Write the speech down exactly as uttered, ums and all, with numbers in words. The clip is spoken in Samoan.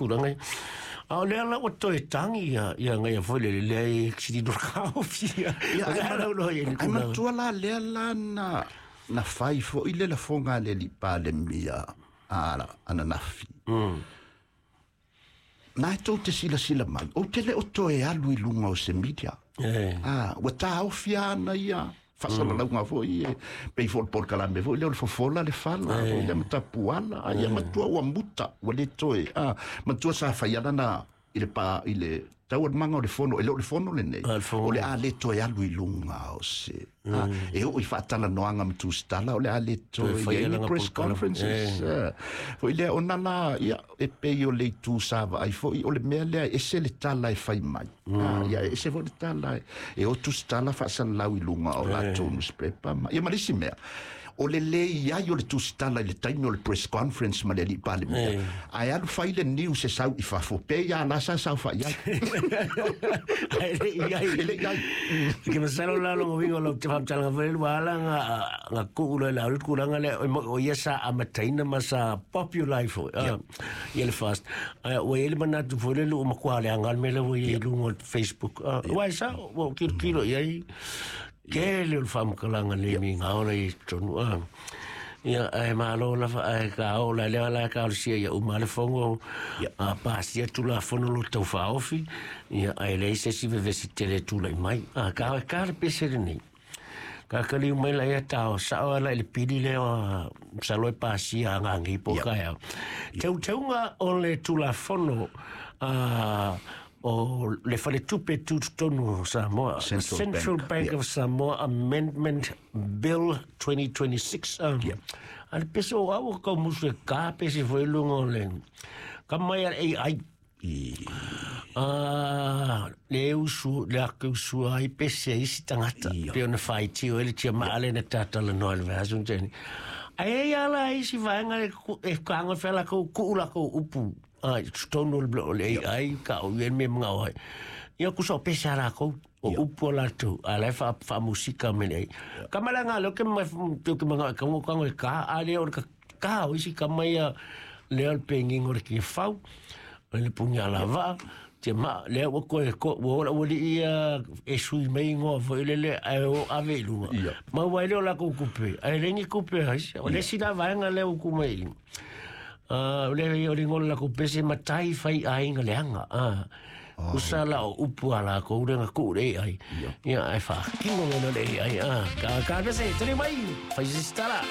tulaga ia. A o lea la ua toe tagi ia ia agaia foi lele leai sili no taofi ia. Ia, O le ai a lau loa i le ai tulaga. Matua la lea la na na fai fo'i le lafoga a le alii Palemia a ananafi na e tou te silasila mai ou te le o toe alu i luga o se media. E. Ah, ua taofia ana ia faasalalauga foi e pei foi o le polokalame foi lea o le fofola le fala foi lea ma tapuala a ia matua ua muta ua le toe ah, matua sa fai ala na i le pa i le taualumaga o le fono e le o le fono lenei. Ah, le fono. O le a le toe alu i luga o se ah, e oo i faatalanoaga ma tusitala o le a le toe fai i ai ni alaga press polokalame. conferences. Ah, foi lea ona la ia e pei o le itu sa vaai foi o le mea lea e ese le tala e fai mai. Ah, ia e ese foi le tala e, e o tusitala faasalalau i luga o latou newspaper ma ia ma le isi mea o le lē iai o le tusitala i le taimi o le press conference ma le alii Palemia ae alu fai le news e sau i fafo pe ia la sa saofai ai. Ai le i ai. E le i ai. Ke masalo la longa wingo lo te whamtalaga fwe lua ala nga nga kuu lo la ulu kulanga le o mo- o ia sa amataina ma sa popular fo ah, ia le fast. Ai o ia le manatu fo le lu makua le angal mele o ia i lunga o Facebook. Ah, Wai sa o kilo kilo ia i ke le o le whamkalanga le mi ngā ora i tonu. Ah. Ia ai malo la fa ai ka o la le la ka o sia ia uma le fongo a pasia tu la fono lo tau faofi ia ai le se si vevesi tele tu lai mai a ka ka le pese nei ka ka li mai la ia tau sa o la le pili le o sa lo pasia nga ngi po ka ya teu teunga o le tu la fono a o le faletupe tutotonu o Samoa. Central Central Bank, Bank yeah. of Samoa Amendment Bill twenty twenty-six. Um, Yeah. A le pese o au ka musu e ka pese foi lunga o le ka mai a A I. Ah, le usu, le ake usu ai pese isi tangata. Ia. Pe ona whaiti o ele tia maale na tātala noa le vahasun tēni. Ai e ala isi vaenga le ku- e kanga whela kou kuu la kou upu. Ai, tonu le o le A I ka o ien me mga oai. Ia kusa o pese ala kou. O upu o lātou. A lai wha, wha musika me nei. Ka mala ngā leo ke mai teo ke mga ka ngo kango e ka a leo o le ka ka o isi ka mai a leo le pengingo le ki whau. O le pungi ala vaa. Te ma lea ua koe ko ua ola ua li ia e sui mai ngoa foi le le ai o ave i lunga. Ia. Ma ua ile o la kou kupe. Ai lengi kupe ai. O le sila vaenga lea u kumai. Ah, o le o le ngola la kou pese matai fai ainga leanga. Ah. Usa la o upu ala ko urenga ku le ai. Ia ai fa kingo le le ai. Ah, ka ka pese tele mai. Fai sistala.